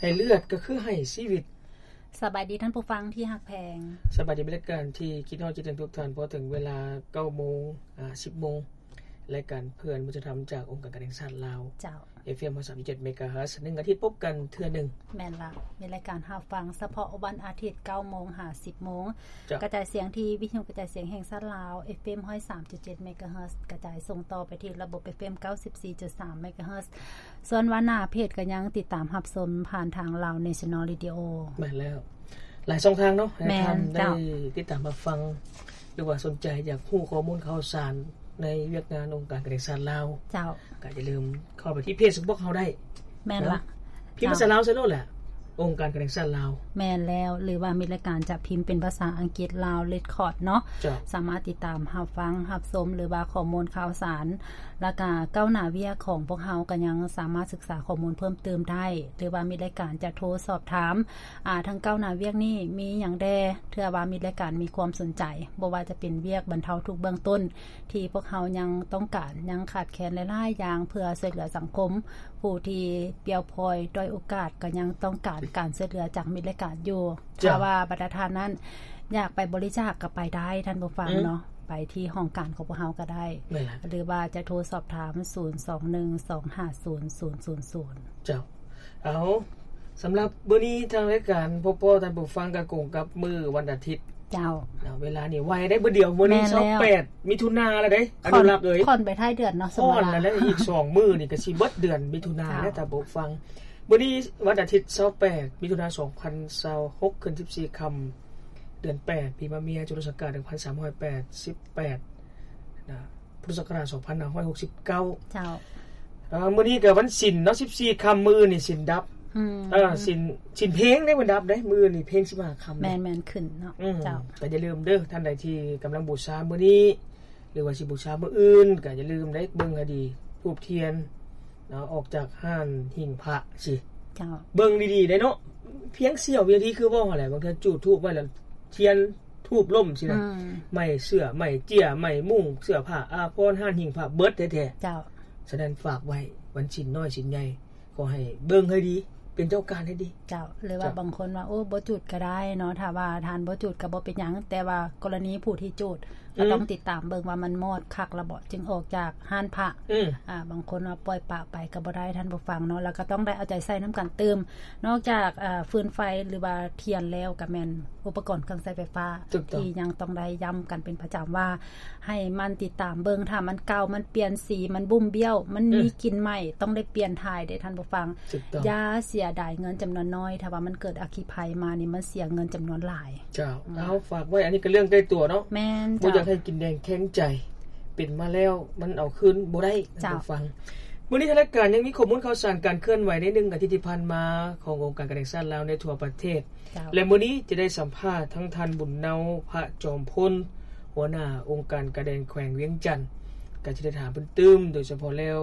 ໃຫ້ເລືອດກໍຄືໃຫ້ຊີວິດ. ສະບາຍດີທ່ານຜູ້ຟັງທີ່ຮັກແພງ. ສະບາຍດີ ມີລາຍການທີ່ຄິດຮອດຄິດເຖິງທຸກທ່ານ. ພໍເຖິງເວລາເກົ້າໂມງ ອາ ສິບໂມງ ລາຍການເພື່ອນມະນຸດທຳຈາກອົງການການແຫ່ງຊາດລາວ. ເຈົ້າ. ເອັຟເອັມຮ້ອຍສາມຈຸດເຈັດເມກາເຮີດ ໜຶ່ງອາທິດພົບກັນເທື່ອໜຶ່ງ. ແມ່ນລະ ມີລາຍການຮັບຟັງສະເພາະວັນອາທິດ ເກົ້າໂມງຫາສິບໂມງ. ເຈົ້າ. ກະຈາຍສຽງທີ່ວິທະຍຸກະຈາຍສຽງແຫ່ງຊາດລາວ ເອັຟເອັມຮ້ອຍສາມຈຸດເຈັດເມກາເຮີດ ກະຈາຍສົ່ງຕໍ່ໄປທີ່ລະບົບ ເອັຟເອັມເກົ້າສິບສີ່ຈຸດສາມເມກາເຮີດ. ສ່ວນວັນໜ້າເພຈກໍຍັງຕິດຕາມຮັບຊົມຜ່ານທາງ Lao National Radio. ແມ່ນແລ້ວ. ຫຼາຍຊ່ອງທາງເນາະ ໃຫ້ທ່ານໄດ້ຕິດຕາມຮັບຟັງ ຫຼືວ່າສົນໃຈຢາກຮູ້ຂໍ້ມູນຂ່າວສານໃນວຽກງານອົງການການແຫ່ງຊາດລາວ. ເຈົ້າ. ກໍຢ່າລືມເຂົ້າໄປທີ່ເພຈຂອງພວກເຮົາໄດ້. ແມ່ນລະ. ເນາະ ພິມພາສາລາວໃສ່ໂລດແຫຼະ ອົງການການແຫ່ງຊາດລາວ. ແມ່ນແລ້ວ. ຫຼືວ່າມີລາຍການຈະພິມເປັນພາສາອັງກິດ Lao Record ເນາະ. ເຈົ້າ. ສາມາດຕິດຕາມຮັບຟັງຮັບຊົມ ຫຼືວ່າຂໍ້ມູນຂ່າວສານ ແລ້ວກະກ້າວໜ້າວຽກຂອງພວກເຮົາກໍຍັງສາມາດສຶກສາຂໍ້ມູນເພີ່ມເຕີມໄດ້ ຫຼືວ່າມີລາຍການຈະໂທສອບຖາມ ອາ ທາງກ້າວໜ້າວຽກນີ້ມີຫຍັງແດ່ ເທື່ອວ່າມີລາຍການມີຄວາມສົນໃຈ ບໍ່ວ່າຈະເປັນວຽກບັນເທົາທຸກເບື້ອງຕົ້ນ ທີ່ພວກເຮົາຍັງຕ້ອງການ ຍັງຂາດແຄນຫຼາຍໆຢ່າງ ເພື່ອຊ່ວຍເຫຼືອສັງຄົມ ຜູ້ທີ່ປ່ຽວພອຍດ້ອຍໂອກາດ ກໍຍັງຕ້ອງການການຊ່ວຍເຫຼືອຈາກມິດລາຍການຢູ່. ເຈົ້າ. ຖ້າວ່າບັນດາທ່ານນັ້ນຢາກໄປບໍລິຈາກກໍໄປໄດ້ ທ່ານຜູ້ຟັງເນາະ ໄປທີ່ຫ້ອງການຂອງພວກເຮົາກໍໄດ້ ແມ່ນລະ ຫຼືວ່າຈະໂທສອບຖາມ ສູນສອງໜຶ່ງສອງຫ້າສູນສູນສູນສູນ. ເຈົ້າ. ເອົາ ສຳລັບມື້ນີ້ທາງລາຍການພົບພໍ້ທ່ານຜູ້ຟັງກໍກົງກັບມື້ວັນອາທິດ. ເຈົ້າ. ເນາະ ເວລານີ້ໄວເດ້ ມື້ດຽວ ມື້ນີ້ຊາວແປດມິຖຸນາແລ້ວເດ້ ອະນຸລັກເອີຍ. ຄ່ອນໄປທ້າຍເດືອນເນາະ ຄ່ອນແລ້ວ ອີກສອງມື້ນີ້ກໍຊິເບິດເດືອນມິຖຸນາແລ້ວ ທ່ານຜູ້ຟັງ. ມື້ນີ້ວັນອາທິດ ຊາວແປດມິຖຸນາ ສອງພັນຊາວຫົກ ຂຶ້ນສິບສີ່ຄ່ຳ ເດືອນແປດ ປີມະເມຍ ຈຸລະສັກກາດ ໜຶ່ງພັນສາມຮ້ອຍແປດສິບແປດ ນະ ພຸດທະສັກກະລາດ ສອງພັນຫ້າຮ້ອຍຫົກສິບເກົ້າ. ເຈົ້າ. ເອີ ມື້ນີ້ກໍວັນສິນເນາະ ສິບສີ່ຄ່ຳ ມື້ອື່ນນີ້ສິນດັບ. ອືມ. ເອີ ສິນ ສິນເພງເດ້ ເພິ່ນດັບເດ້ ມື້ອື່ນນີ້ເພງສິບຫ້າຄ່ຳ. ແມ່ນໆ ຂຶ້ນເນາະ. ອືມ. ເຈົ້າ. ກໍຢ່າລືມເດີ ທ່ານໃດທີ່ກຳລັງບູຊາມື້ນີ້ ຫຼືວ່າຊິບູຊາມື້ອື່ນ ກໍຢ່າລືມໄດ້ເບິ່ງໃຫ້ດີ ທູບທຽນເນາະ ອອກຈາກຮ້ານຫິ້ງພະຊິ. ເຈົ້າ. ເບິ່ງດີໆໄດ້ເນາະ ພຽງສ່ຽວວິນາທີ ຄືເວົ້າຫັ້ນແຫຼະ ບາງເທື່ອຈູດທູບໄວ້ແລ້ວ ທຽນທູບລົ້ມຊິນະ. ອືມ. ໄມ້ເສື້ອ ໄມ້ເຈ້ຍ ໄມ້ມຸ້ງ ເສື້ອຜ້າອາພອນ ຮ້ານຫິ້ງພະເບິດແທ້ໆ. ເຈົ້າ. ສະນັ້ນຝາກໄວ້ ວັນສິນນ້ອຍສິນໃຫຍ່ ຂໍໃຫ້ເບິ່ງໃຫ້ດີ ເປັນເຈົ້າການໃຫ້ດີ. ເຈົ້າ. ຫຼືວ່າບາງຄົນວ່າ ໂອ້ ບໍ່ຈູດກໍໄດ້ເນາະ ຖ້າວ່າທ່ານບໍ່ຈູດກໍບໍ່ເປັນຫຍັງ ແຕ່ວ່າກໍລະນີຜູ້ທີ່ຈູດ ກໍຕ້ອງຕິດຕາມເບິ່ງວ່າມັນມອດຄັກລະບໍ່ ຈຶ່ງອອກຈາກຮ້ານພະ. ອືມ. ອາ ບາງຄົນວ່າປ່ອຍປະໄປກໍບໍ່ໄດ້ ທ່ານຜູ້ຟັງເນາະ ແລ້ວກໍຕ້ອງໄດ້ເອົາໃຈໃສ່ນຳກັນຕື່ມ. ນອກຈາກ ອາ ຟືນໄຟ ຫຼືວ່າທຽນແລ້ວ ກໍແມ່ນອຸປະກອນເຄື່ອງໃຊ້ໄຟຟ້າ ຖືກຕ້ອງ ທີ່ຍັງຕ້ອງໄດ້ຢ້ຳກັນເປັນປະຈຳວ່າ ໃຫ້ໝັ່ນຕິດຕາມເບິ່ງ ຖ້າມັນເກົ່າ ມັນປ່ຽນສີ ມັນບຸ້ມບ້ຽວ ມັນມີ ອືມ ກິ່ນໄໝ້ ຕ້ອງໄດ້ປ່ຽນຖ່າຍເດ້ ທ່ານຜູ້ຟັງ. ຢ່າເສຍດາຍເງິນຈຳນວນນ້ອຍ ຖ້າວ່າມັນເກີດອັກຄີໄພມານີ້ ມັນເສຍເງິນຈຳນວນຫຼາຍ. ເຈົ້າ. ອືມ. ເອົາ ຝາກໄວ້ ອັນນີ້ກໍເລື່ອງໃກ້ຕົວເນາະ. ແມ່ນ. ບໍ່ຢາກໃຫ້ກິນແດງແຂງໃຈ ເປັນມາແລ້ວມັນເອົາຄືນບໍ່ໄດ້. ເຈົ້າ. ທ່ານຜູ້ຟັງ ມື້ນີ້ທາງລາຍການຍັງມີຂໍ້ມູນຂ່າວສານການເຄື່ອນໄຫວໃນໜຶ່ງອາທິດທີ່ຜ່ານມາ ຂອງອົງການການແຫ່ງຊາດລາວໃນທົ່ວປະເທດ. ເຈົ້າ. ແລະ ມື້ນີ້ຈະໄດ້ສຳພາດທັງທ່ານ ບຸນເນົາ ພະຈອມພົນ ຫົວໜ້າອົງການກາແດນແຂວງວຽງຈັນ ກໍຈະໄດ້ຖາມເພິ່ນຕື່ມ ໂດຍສະເພາະແລ້ວ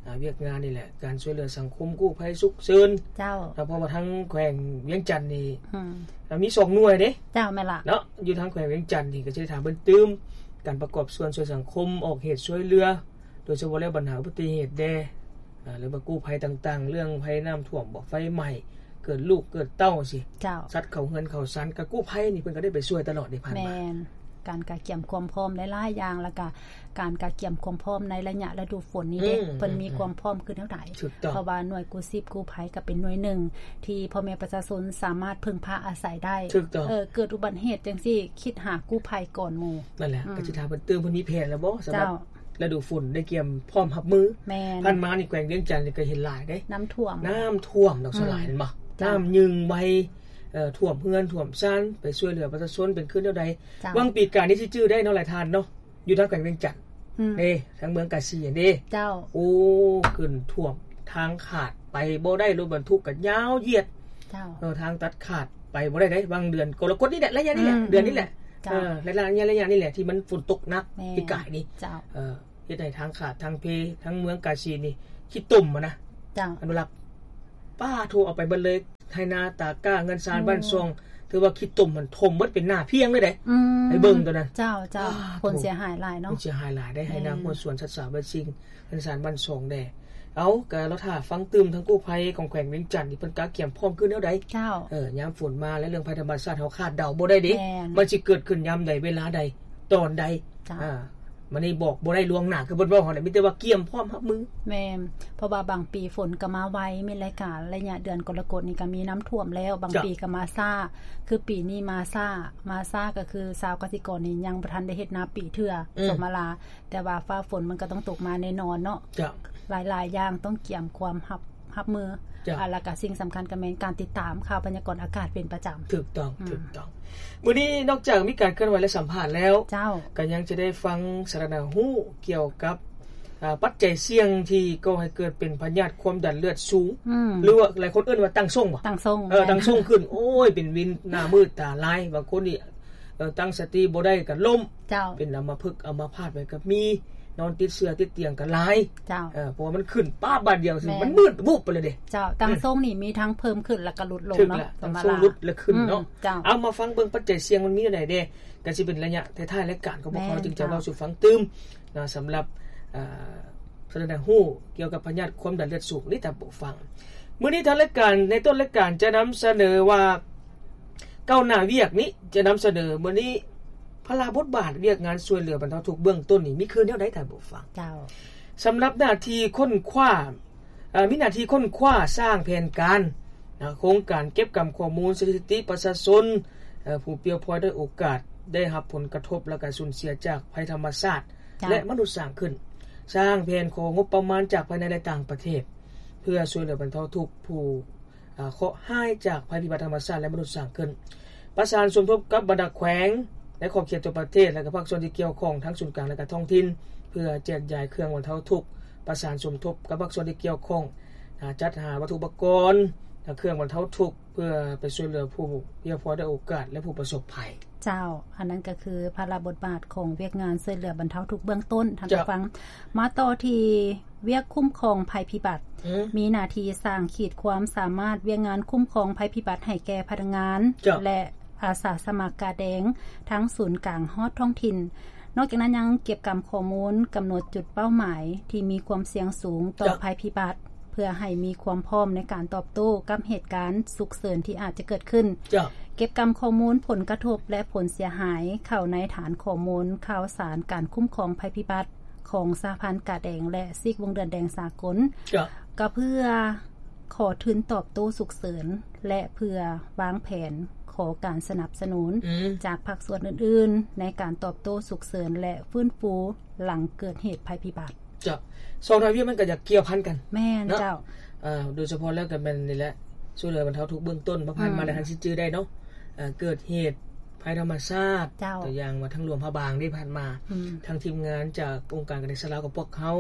ອາ ວຽກງານນີ້ແຫຼະ ການຊ່ວຍເຫຼືອສັງຄົມ ກູ້ໄພສຸກເສີນ. ເຈົ້າ. ເພາະວ່າທາງແຂວງວຽງຈັນນີ້ ອືມ ອາ ມີສອງໜ່ວຍເດ້. ເຈົ້າ. ແມ່ນລະ ເນາະ ຢູ່ທາງແຂວງວຽງຈັນນີ້ ກໍຈະໄດ້ຖາມເພິ່ນຕື່ມ ການປະກອບສ່ວນຊ່ວຍສັງຄົມ ອອກເຫດຊ່ວຍເຫຼືອ ໂດຍສະເພາະແລ້ວບັນຫາອຸບັດຕິເຫດແດ່ ອາ ຫຼືວ່າກູ້ໄພຕ່າງໆ ເລື່ອງໄພນ້ຳຖ້ວມບໍ ໄຟໄໝ້ ເກີດລູກເກີດເຕົ້າຊີ້. ເຈົ້າ. ສັດເຂົ້າເຮືອນເຂົ້າຊານ ກະກູ້ໄພນີ້ເພິ່ນກໍໄດ້ໄປຊ່ວຍຕະຫຼອດໃນຜ່ານມາ. ແມ່ນ. ການກະກຽມຄວາມພ້ອມຫຼາຍໆຢ່າງ ແລ້ວກະການກະກຽມຄວາມພ້ອມໃນໄລຍະລະດູຝົນນີ້ເດ້ ອືມ ເພິ່ນມີຄວາມພ້ອມຄືແນວໃດ? ຖືກຕ້ອງ. ເພາະວ່າໜ່ວຍກູ້ຊີບກູ້ໄພກໍເປັນໜ່ວຍໜຶ່ງທີ່ພໍ່ແມ່ປະຊາຊົນສາມາດເພິ່ງພາອາໄສໄດ້. ຖືກຕ້ອງ. ເອີ ເກີດອຸບັດເຫດຈັ່ງຊີ້ ຄິດຫາກູ້ໄພກ່ອນໝູ່. ນັ້ນແຫຼະ ອືມ ກໍຊິຖາມເພິ່ນຕື່ມ ເພິ່ນມີແຜນແລ້ວບໍ່ ສຳລັບ ເຈົ້າ ລະດູຝົນ ໄດ້ກຽມພ້ອມຮັບມື. ແມ່ນ. ຜ່ານມານີ້ແຂວງວຽງຈັນນີ້ກໍເຫັນຫຼາຍເດ້ ນ້ຳຖ້ວມ ນ້ຳຖ້ວມດອກ ອືມ ສະຫຼາຍ ແມ່ນບໍ່? ເຈົ້າ. ນ້ຳຍຶ່ງໄວ ເອີ ຖ້ວມເຮືອນຖ້ວມຊານ ໄປຊ່ວຍເຫຼືອປະຊາຊົນເປັນຄືແນວໃດ? ເຈົ້າ. ຫວ່າງປີກາຍນີ້ຊິຈື່ໄດ້ເນາະ ຫຼາຍທ່ານເນາະ ຢູ່ທາງແຂວງວຽງຈັນ ອືມ ເດ້ ທາງເມືອງກາສີເດ້. ເຈົ້າ. ໂອ້ ຂຶ້ນຖ້ວມ ທາງຂາດ ໄປບໍ່ໄດ້ ລົດບັນທຸກກໍຍາວຢຽດ. ເຈົ້າ. ເອີ ທາງຕັດຂາດ ໄປບໍ່ໄດ້ເດ້ ຫວ່າງເດືອນກໍລະກົດນີ້ແຫຼະ ໄລຍະນີ້ແຫຼະ ອືມ ເດືອນນີ້ແຫຼະ. ເຈົ້າ. ເອີ ໄລຍະ ໄລຍະນີ້ແຫຼະທີ່ມັນຝົນຕົກໜັກ ແມ່ນ ປີກາຍນີ້. ເຈົ້າ. ເອີ ເຮັດໃຫ້ທາງຂາດ ທາງເພ ທາງເມືອງກາສີນີ້ ຂີ້ຕົມຫັ້ນນະ. ເຈົ້າ. ອະນຸລັກ ປ້າໂທ ເອົາໄປເບິດເລີຍ ໄຮ່ນາຕາກ້າ ເຮືອນຊານ ໂອ້ ບ້ານຊ່ອງ ຖືວ່າຂີ້ຕົມຫັ້ນຖົມເບິດເປັນໜ້າພຽງເລີຍເດ້. ອືມ ໃຫ້ເບິ່ງຕົວນັ້ນ. ເຈົ້າ ເຈົ້າ. ອ້າ ຜົນເສຍຫາຍຫຼາຍເນາະ. ຜົນເສຍຫາຍຫຼາຍເດ້ ໄຮ່ນາ ອືມ ຮົ້ວສວນ ສັດສາ ເບິດສິ່ງ ເຮືອນຊານ ບ້ານຊ່ອງແດ່. ເອົາ ກະລໍຖ້າຟັງຕື່ມ ທາງກູ້ໄພຂອງແຂວງວຽງຈັນນີ້ ເພິ່ນກະກຽມພ້ອມຄືແນວໃດ. ເຈົ້າ. ເອີ ຍາມຝົນມາ ແລະ ເລື່ອງໄພທຳມະຊາດ ເຮົາຄາດເດົາບໍ່ໄດ້ເດ້ ແມ່ນ ມັນຊິເກີດຂຶ້ນຍາມໃດ ເວລາໃດ ຕອນໃດ. ເຈົ້າ. ອ່າ ມັນນີ້ບອກບໍ່ໄດ້ລ່ວງໜ້າ ຄືເພິ່ນເວົ້າຫັ້ນແຫຼະ ມີແຕ່ວ່າກຽມພ້ອມຮັບມື. ແມ່ນ ເພາະວ່າບາງປີຝົນກໍມາໄວ ແມ່ນລະ ກະໄລຍະເດືອນກໍລະກົດນີ້ກໍມີນ້ຳຖ້ວມແລ້ວ ບາງ ເຈົ້າ ປີກໍມາຊ້າ ຄືປີນີ້ມາຊ້າ ມາຊ້າກໍຄືຊາວກະສິກອນນີ້ຍັງບໍ່ທັນໄດ້ເຮັດນາປີເທື່ອ. ອືມ. ສົມມະລາ ແຕ່ວ່າຟ້າຝົນມັນກໍຕ້ອງຕົກມາແນ່ນອນເນາະ. ເຈົ້າ. ຫຼາຍໆຢ່າງຕ້ອງກຽມຄວາມຮັບ ຮັບມື. ເຈົ້າ. ອ່າ ແລ້ວກໍສິ່ງສຳຄັນກໍແມ່ນການຕິດຕາມຂ່າວພະຍາກອນອາກາດເປັນປະຈຳ. ຖືກຕ້ອງ ອືມ ຖືກຕ້ອງ. ມື້ນີ້ນອກຈາກມີການເຄື່ອນໄຫວ ແລະ ສຳພາດແລ້ວ ເຈົ້າ ກໍຍັງຈະໄດ້ຟັງສາລະໜ້າຮູ້ກ່ຽວກັບ ອ່າ ປັດໄຈສ່ຽງທີ່ກໍ່ໃຫ້ເກີດເປັນພະຍາດຄວາມດັນເລືອດສູງ ອືມ ຫຼືວ່າຫຼາຍຄົນເອີ້ນວ່າຕັ້ງຊົງບໍ່? ຕັ້ງຊົງ. ເອີ ແມ່ນ ຕັ້ງຊົງຂຶ້ນ ໂອ້ຍ ເປັນວິນ ໜ້າມືດຕາລາຍ ບາງຄົນນີ້ ເອີ ຕັ້ງສະຕິບໍ່ໄດ້ກໍລົ້ມ. ເຈົ້າ. ເປັນອຳມະພຶກອຳມະພາດໄປກໍມີ ນອນຕິດເຊື້ອຕິດຕຽງກໍຫຼາຍ. ເຈົ້າ. ເອີ ເພາະວ່າມັນຂຶ້ນປ້າບບາດດຽວ ແມ່ນ ມັນມືດວຸບໄປເລີຍເດ້. ເຈົ້າ. ອືມ. ຕັ້ງຊົງນີ້ມີທັງເພີ່ມຂຶ້ນ ແລ້ວກໍຫຼຸດລົງເນາະ. ຖືກລະ ຕັ້ງຊົງຫຼຸດແລະຂຶ້ນເນາະ. ເຈົ້າ. ເອົາ ມາຟັງເບິ່ງປັດໄຈສ່ຽງມັນມີແນວໃດແດ່ ກໍຊິເປັນໄລຍະທ້າຍໆລາຍການຂອງພວກເຮົາ ແມ່ນ ຈຶ່ງຈະເວົ້າສູ່ຟັງຕື່ມນະ ສຳລັບ ເອີ ສາລະໜ້າຮູ້ກ່ຽວກັບພະຍາດຄວາມດັນເລືອດສູງນີ້ ທ່ານຜູ້ຟັງ. ມື້ນີ້ທາງລາຍການ ໃນຕົ້ນລາຍການຈະນຳສະເໜີວ່າ ກ້າວໜ້າວຽກນີ້ຈະນຳສະເໜີມື້ນີ້ ພາລະບົດບາດວຽກງານຊ່ວຍເຫຼືອບັນເທົາທຸກເບື້ອງຕົ້ນນີ້ມີຄືແນວໃດ ທ່ານຜູ້ຟັງ? ເຈົ້າ. ສຳລັບໜ້າທີ່ຄົ້ນຄວ້າ ເອີ ມີໜ້າທີ່ຄົ້ນຄວ້າ ສ້າງແຜນການ ນະ ໂຄງການເກັບກຳຂໍ້ມູນສະຖິຕິປະຊາຊົນ ເອີ ຜູ້ປ່ຽວພອຍດ້ອຍໂອກາດ ໄດ້ຮັບຜົນກະທົບ ແລະ ກະສູນເສຍຈາກໄພທຳມະຊາດ ເຈົ້າ ແລະ ມະນຸດສ້າງຂຶ້ນ, ສ້າງແຜນຂໍງົບປະມານຈາກພາຍໃນ ແລະ ຕ່າງປະເທດ ເພື່ອຊ່ວຍເຫຼືອບັນເທົາທຸກຜູ້ ເຄາະຮ້າຍຈາກໄພພິບັດທຳມະຊາດ ແລະ ມະນຸດສ້າງຂຶ້ນ, ປະສານສົມທົບກັບບັນດາແຂວງ ໃນຂອບເຂດທົ່ວປະເທດ ແລະ ກະພາກສ່ວນທີ່ກ່ຽວຂ້ອງ ທັງສູນກາງ ແລະ ກະທ້ອງຖິ່ນ ເພື່ອແຈກຢາຍເຄື່ອງບັນເທົາທຸກ, ປະສານສົມທົບກັບພາກສ່ວນທີ່ກ່ຽວຂ້ອງ, ອາ, ຈັດຫາວັດຖຸອຸປະກອນ, ເຄື່ອງບັນເທົາທຸກ ເພື່ອໄປຊ່ວຍເຫຼືອຜູ້ເພຍພໍດ້ອຍໂອກາດ ແລະ ຜູ້ປະສົບໄພ. ເຈົ້າ, ອັນນັ້ນກໍຄືພາລະບົດບາດຂອງວຽກງານຊ່ວຍເຫຼືອບັນເທົາທຸກເບື້ອງຕົ້ນ. ທ່ານຜູ້ຟັງ, ມາຕໍ່ທີ່ວຽກຄຸ້ມຄອງໄພພິບັດ, ມີໜ້າທີ່ສ້າງຂີດຄວາມສາມາດວຽກງານຄຸ້ມຄອງໄພພິບັດໃຫ້ແກ່ພະນັກງານ ແລະ ອາສາສະໝັກກາແດງ ທັງສູນກາງຮອດທ້ອງຖິ່ນ. ນອກຈາກນັ້ນຍັງເກັບກຳຂໍ້ມູນ, ກຳນົດຈຸດເປົ້າໝາຍທີ່ມີຄວາມສ່ຽງສູງຕໍ່ໄພພິບັດ, ເພື່ອໃຫ້ມີຄວາມພ້ອມໃນການຕອບໂຕ້ກັບເຫດການສຸກເສີນທີ່ອາດຈະເກີດຂຶ້ນ. ເກັບກຳຂໍ້ມູນຜົນກະທົບ ແລະ ຜົນເສຍຫາຍເຂົ້າໃນຖານຂໍ້ມູນຂ່າວສານການຄຸ້ມຄອງໄພພິບັດຂອງສະຫະພັນກາແດງ ແລະ ຊີກວົງເດືອນແດງສາກົນ, ກໍເພື່ອຂໍທຶນຕອບໂຕ້ສຸກເສີນ ແລະ ເພື່ອວາງແຜນຂໍການສະໜັບສະໜູນ ຈາກພາກສ່ວນອື່ນໆ ໃນການຕອບໂຕ້ສຸກເສີນ ແລະ ຟື້ນຟູ ຫຼັງເກີດເຫດໄພພິບັດ. ເຈົ້າ, ສອງທະວີມັນກໍຈະກ່ຽວພັນກັນ. ແມ່ນເນາະ. ເຈົ້າ. ເອີ, ໂດຍສະເພາະແລ້ວກໍແມ່ນນີ້ແຫຼະ, ຊ່ວຍເຫຼືອບັນເທົາທຸກເບື້ອງຕົ້ນ, ຜ່ານມາ ອືມ ແລ້ວທ່ານຊິຈື່ໄດ້ເນາະ. ເອີ, ເກີດເຫດໄພທຳມະຊາດ, ເຈົ້າ. ຕົວຢ່າງວ່າທາງຫຼວງພະບາງນີ້ຜ່ານມາ, ອືມ. ທາງທີມງານຈາກອົງການການແດງຊາດລາວກັບພວກເຮົາ,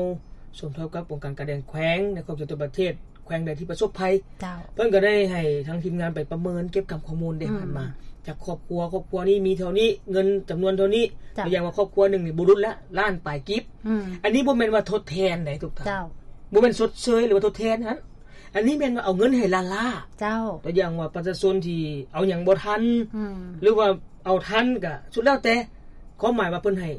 ສົມທົບກັບອົງການການແດງແຂວງ ໃນຂອບເຂດທົ່ວປະເທດ, ແຂວງໃດທີ່ປະສົບໄພ, ເຈົ້າ. ເພິ່ນກໍໄດ້ໃຫ້ທາງທີມງານໄປປະເມີນເກັບກຳຂໍ້ມູນເດ້, ອືມ. ຜ່ານມາ ຈາກຄອບຄົວ, ຄອບຄົວນີ້ມີເທົ່ານີ້, ເງິນຈຳນວນເທົ່ານີ້, ເຈົ້າ. ຕົວຢ່າງວ່າຄອບຄົວໜຶ່ງນີ້ບໍ່ຫຼຸດລະລ້ານປາຍກີບ, ອືມ. ອັນນີ້ບໍ່ແມ່ນວ່າທົດແທນໃດ ທຸກທ່ານ, ເຈົ້າ. ບໍ່ແມ່ນຊົດເຊີຍ ຫຼືວ່າທົດແທນຫັ້ນ, ອັນນີ້ແມ່ນວ່າເອົາເງິນໃຫ້ລ້າໆ, ເຈົ້າ. ຕົວຢ່າງວ່າປະຊາຊົນທີ່ເອົາຫຍັງບໍ່ທັນ, ອືມ. ຫຼືວ່າເອົາທັນກໍສຸດແລ້ວແຕ່, ຄວາມໝາຍວ່າເພິ່ນໃຫ້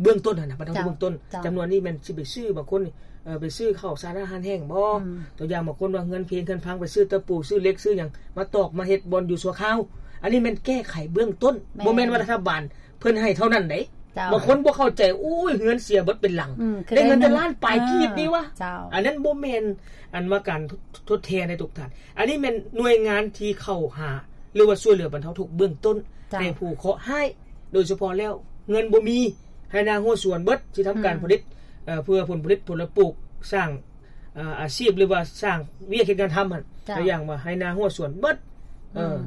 ເບື້ອງຕົ້ນຫັ້ນນະ, ບັນເທົາທຸກເບື້ອງຕົ້ນ, ເຈົ້າ. ຈຳນວນນີ້ແມ່ນຊິໄປຊື້, ບາງຄົນ ເອີ ໄປຊື້ເຂົ້າສານອາຫານແຫ້ງບໍ, ອືມ. ຕົວຢ່າງບາງຄົນວ່າເຮືອນເພງເຮືອນພັງ, ໄປຊື້ຕະປູ, ຊື້ເຫຼັກ, ຊື້ຫຍັງມາຕອກມາເຮັດບ່ອນຢູ່ຊົ່ວຄາວ. ອັນນີ້ແມ່ນແກ້ໄຂເບື້ອງຕົ້ນ, ແມ່ນ. ບໍ່ແມ່ນວ່າລັດຖະບານເພິ່ນໃຫ້ເທົ່ານັ້ນເດ້, ເຈົ້າ. ບາງຄົນບໍ່ເຂົ້າໃຈ, ໂອ້ຍ ເຮືອນເສຍເບິດເປັນຫຼັງ, ອືມ. ໄດ້ເງິນແຕ່ລ້ານປາຍກີບນີ້ວະ, ເຈົ້າ. ອັນນັ້ນບໍ່ແມ່ນ ອັນວ່າການທົດແທນໃຫ້ທຸກທ່ານ, ອັນນີ້ແມ່ນໜ່ວຍງານທີ່ເຂົ້າຫາ ຫຼືວ່າຊ່ວຍເຫຼືອບັນເທົາທຸກເບື້ອງຕົ້ນ, ເຈົ້າ. ໃຫ້ຜູ້ເຄາະຮ້າຍ, ໂດຍສະເພາະແລ້ວເງິນບໍ່ມີ, ໄຮ່ນາຮົ້ວສວນເບິດ, ຊິທຳການ ອືມ. ຜະລິດ ເອີ ເພື່ອຜົນຜະລິດຜົນລະປູກ, ສ້າງ ເອີ ອາຊີບ ຫຼືວ່າສ້າງວຽກເຮັດງານທຳຫັ້ນ, ເຈົ້າ. ຕົວຢ່າງວ່າໄຮ່ນາຮົ້ວສວນເບິດ, ເອີ ອືມ.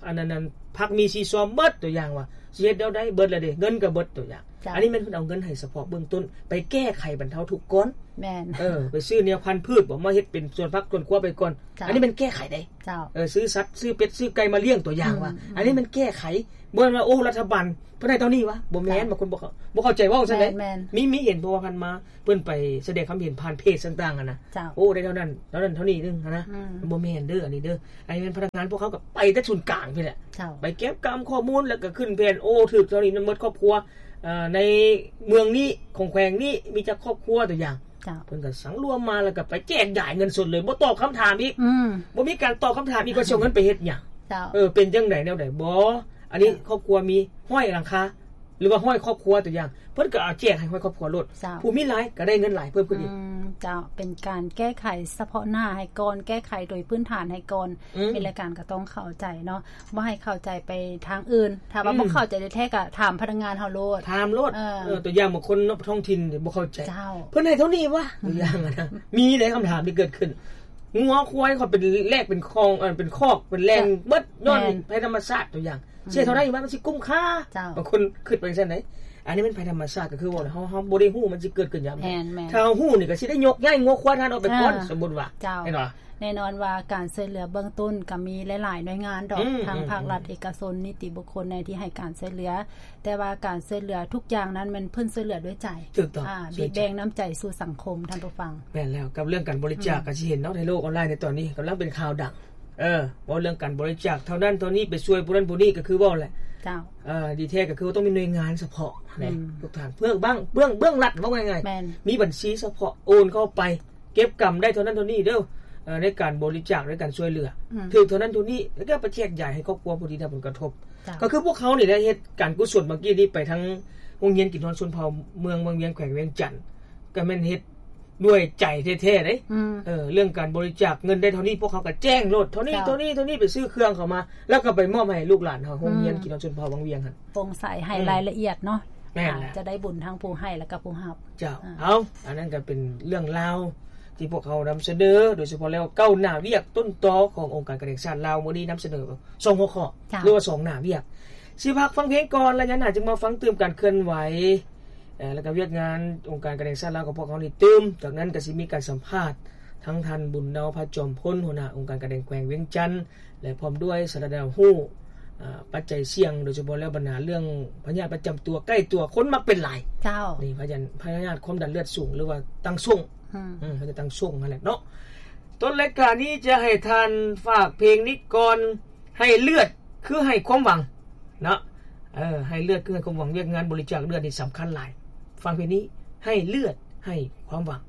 ອັນນັ້ນ ອັນຜັກມີຊີຊອມເບິດ, ຕົວຢ່າງວ່າຊິເຮັດແນວໃດ, ເບິດແລ້ວເດ້, ເງິນກໍເບິດ, ຕົວຢ່າງ. ເຈົ້າ. ອັນນີ້ແມ່ນເພິ່ນເອົາເງິນໃຫ້ສະເພາະເບື້ອງຕົ້ນ, ໄປແກ້ໄຂບັນເທົາທຸກກ່ອນ, ແມ່ນ. ເອີ ໄປຊື້ແນວພັນພືດບໍ, ມາເຮັດເປັນສວນຜັກສວນຄົວໄປກ່ອນ, ເຈົ້າ. ອັນນີ້ແມ່ນແກ້ໄຂໄດ໋. ເຈົ້າ. ເອີ ຊື້ສັດ ຊື້ເປັດ ຊື້ໄກ່ມາລ້ຽງ, ຕົວຢ່າງວ່າ, ອືມ. ອັນນີ້ແມ່ນແກ້ໄຂ, ບໍ່ແມ່ນວ່າ ໂອ້ ລັດຖະບານເພິ່ນໃຫ້ເທົ່ານີ້ວະ, ບໍ່ແມ່ນ. ເຈົ້າ. ບາງຄົນບໍ່ເຂົ້າ, ບໍ່ເຂົ້າໃຈ, ເວົ້າຊັ້ນເດ້. ແມ່ນ, ແມ່ນ. ມີ, ມີເຫັນ, ເພາະວ່າຜ່ານມາເພິ່ນໄປສະແດງຄວາມເຫັນຜ່ານເພຈຕ່າງໆຫັ້ນນະ, ເຈົ້າ. ໂອ້ ໄດ້ເທົ່ານັ້ນ, ເທົ່ານັ້ນເທົ່ານີ້ໜຶ່ງຫັ້ນນະ, ອືມ. ມັນບໍ່ແມ່ນເດີ, ອັນນີ້ເດີ, ອັນນີ້ແມ່ນພະນັກງານພວກເຮົາກໍໄປແຕ່ສູນກາງພີ້ແຫຼະ, ເຈົ້າ. ໄປເກັບກຳຂໍ້ມູນ ແລ້ວກໍຂຶ້ນແຜນ, ໂອ້ ຖືກເທົ່ານີ້ນຳໝົດຄອບຄົວ, ເອີ ໃນເມືອງນີ້ ຂອງແຂວງນີ້ ມີຈັກຄອບຄົວ, ຕົວຢ່າງ. ເຈົ້າ ເພິ່ນກໍສັງລວມມາ ແລ້ວກໍໄປແຈກຢາຍເງິນສົດເລີຍ ບໍ່ຕອບຄຳຖາມອີກ ອືມ ບໍ່ມີການຕອບຄຳຖາມອີກ ວ່າຊິເອົາເງິນໄປເຮັດຫຍັງ ເຈົ້າ ເອີ ເປັນຈັ່ງໃດແນວໃດ ບໍ່ ອັນນີ້ ເຈົ້າ ຄອບຄົວມີຮ້ອຍຫຼັງຄາ ຫຼືວ່າຮ້ອຍຄອບຄົວ ຕົວຢ່າງ ເພິ່ນກໍເອົາແຈກໃຫ້ຮ້ອຍຄອບຄົວໂລດ ເຈົ້າ ຜູ້ມີຫຼາຍກໍໄດ້ເງິນຫຼາຍເພີ່ມຂຶ້ນອີກ ອືມ ເຈົ້າ ເປັນການແກ້ໄຂສະເພາະໜ້າໃຫ້ກ່ອນ ແກ້ໄຂໂດຍພື້ນຖານໃຫ້ກ່ອນ ອືມ ເຮັດລາຍການກໍຕ້ອງເຂົ້າໃຈເນາະ ບໍ່ໃຫ້ເຂົ້າໃຈໄປທາງອື່ນ ຖ້າວ່າ ອືມ ບໍ່ເຂົ້າໃຈແທ້ໆກໍຖາມພະນັກງານເຮົາໂລດ ຖາມໂລດ ເອີ ເອີ ຕົວຢ່າງບາງຄົນເນາະ ທ້ອງຖິ່ນບໍ່ເຂົ້າໃຈ ເຈົ້າ ເພິ່ນໃຫ້ເທົ່ານີ້ວະ ອືມ ຕົວຢ່າງນະ ມີເດ້ຄຳຖາມທີ່ເກີດຂຶ້ນ ງົວຄວາຍຂ້ອຍເປັນແລກເປັນຄອງ ເອີ ເປັນຄອກ ເປັນແຫຼ່ງ ເຈົ້າ ເບິດ ຍ້ອນ ແມ່ນ ໄພທຳມະຊາດ ຕົວຢ່າງ ອືມ ເສຍເທົ່າໃດວະ ມັນຊິກຸ້ມຄ່າ ເຈົ້າ ບາງຄົນຄິດໄປຈັ່ງຊັ້ນເດ້ ອັນນີ້ແມ່ນໄພທຳມະຊາດ ກໍຄືວ່າເຮົາ ເຮົາບໍ່ໄດ້ຮູ້ມັນຊິເກີດຂຶ້ນຍາມໃດ ແມ່ນໆ ຖ້າເຮົາຮູ້ນີ້ກໍຊິໄດ້ຍົກຍ້າຍງົວຄວາຍທ່ານອອກໄປກ່ອນ ເອີ ສົມມຸດວ່າ ເຈົ້າ ເຫັນບໍ່ ແນ່ນອນວ່າການຊ່ວຍເຫຼືອເບື້ອງຕົ້ນກໍມີຫຼາຍໆໜ່ວຍງານດອກ ອືມ ທັງ ອືມ ພາກລັດ ອືມ ເອກະຊົນ ນິຕິບຸກຄົນໃນທີ່ໃຫ້ການຊ່ວຍເຫຼືອ ແຕ່ວ່າການຊ່ວຍເຫຼືອທຸກຢ່າງນັ້ນແມ່ນເພິ່ນຊ່ວຍເຫຼືອດ້ວຍໃຈ ຖືກຕ້ອງ ອ່າ ຊ່ວຍໃຈ ແບ່ງນ້ຳໃຈສູ່ສັງຄົມ ທ່ານຜູ້ຟັງ ແມ່ນແລ້ວ ກັບເລື່ອງການບໍລິຈາກ ອືມ ກໍຊິເຫັນເນາະ ໃນໂລກອອນລາຍໃນຕອນນີ້ກຳລັງເປັນຂ່າວດັງ ເອີ ເວົ້າເລື່ອງການບໍລິຈາກເທົ່ານັ້ນເທົ່ານີ້ ໄປຊ່ວຍຜູ້ນັ້ນຜູ້ນີ້ ກໍຄືເວົ້າແຫຼະ ເຈົ້າ ເອີ ທີ່ແທ້ກໍຄືວ່າຕ້ອງມີໜ່ວຍງານສະເພາະ ອືມ ທຸກທ່ານ ເບື້ອງ ເບື້ອງ ເບື້ອງລັດ ເວົ້າງ່າຍໆ ແມ່ນ ມີບັນຊີສະເພາະໂອນເຂົ້າໄປ ເກັບກຳໄດ້ເທົ່ານັ້ນເທົ່ານີ້ເດີ ເອີ ໃນການບໍລິຈາກ ໃນການຊ່ວຍເຫຼືອ ອືມ ຖືກເທົ່ານັ້ນເທົ່ານີ້ ແລ້ວກໍໄປແຈກຢາຍໃຫ້ຄອບຄົວຜູ້ທີ່ໄດ້ຮັບຜົນກະທົບ ເຈົ້າ ກໍຄືພວກເຮົານີ້ແຫຼະ ເຮັດການກຸສົນເມື່ອກີ້ນີ້ໄປທາງໂຮງຮຽນກິດຮອນຊົນເຜົ່າເມືອງວັງວຽງ ແຂວງວຽງຈັນ ກໍແມ່ນເຮັດດ້ວຍໃຈແທ້ໆເດ້ ອືມ ເອີ ເລື່ອງການບໍລິຈາກເງິນໄດ້ເທົ່ານີ້ ພວກເຮົາກໍແຈ້ງໂລດ ເທົ່ານີ້ ເຈົ້າ ເທົ່ານີ້ ເທົ່ານີ້ ໄປຊື້ເຄື່ອງເຂົ້າມາ ແລ້ວກໍໄປມອບໃຫ້ລູກຫຼານເຮົາ ໂຮງຮຽນ ອືມ ກິດຮອນຊົນເຜົ່າວັງວຽງຫັ້ນ ໂປ່ງໃສ ໃຫ້ ອືມ ລາຍລະອຽດເນາະ ແມ່ນແຫຼະ ອ່າ ຈະໄດ້ບຸນທັງຜູ້ໃຫ້ ແລະກໍຜູ້ຮັບ ເຈົ້າ ອ່າ ເອົາ ອັນນັ້ນກໍເປັນເລື່ອງລາວທີ່ພວກເຮົານຳສະເໜີ ໂດຍສະເພາະແລ້ວກ້າວໜ້າວຽກຕົ້ນຕໍຂອງອົງການການແຫ່ງຊາດລາວ ມື້ນີ້ນຳສະເໜີສອງຫົວຂໍ້ ເຈົ້າ ຫຼືວ່າສອງໜ້າວຽກ ຊິພັກຟັງເພງກ່ອນ ໄລຍະໜ້າຈຶ່ງມາຟັງຕື່ມການເຄື່ອນໄຫວ ເອີ ແລ້ວກໍວຽກງານອົງການການແຫ່ງຊາດລາວຂອງພວກເຮົານີ້ຕື່ມ. ຈາກນັ້ນກໍຊິມີການສຳພາດທັງທ່ານ ບຸນເນົາ ພະຈອມພົນ ຫົວໜ້າອົງການການແຫ່ງແຂວງວຽງຈັນ ແລະ ພ້ອມດ້ວຍສາລະນະຮູ້ ອາ ປັດໄຈສ່ຽງ ໂດຍສະເພາະແລ້ວບັນຫາເລື່ອງພະຍາດປະຈຳຕົວໃກ້ຕົວ ຄົນມັກເປັນຫຼາຍ ເຈົ້າ ນີ້ ພະຍາດ ພະຍາດຄວາມດັນເລືອດສູງ ຫຼືວ່າຕັ້ງຊົງ ອືມ ອືມ ເຂົາຈະຕັ້ງຊົງຫັ້ນແຫຼະເນາະ. ຕົ້ນລາຍການນີ້ຈະໃຫ້ທ່ານຝາກເພງນີ້ກ່ອນ ໃຫ້ເລືອດຄືໃຫ້ຄວາມຫວັງເນາະ ເອີ ໃຫ້ເລືອດຄືໃຫ້ຄວາມຫວັງ ວຽກງານບໍລິຈາກເລືອດນີ້ສຳຄັນຫຼາຍ ຟັງເພງນີ້ ໃຫ້ເລືອດໃຫ້ຄວາມຫວັງ.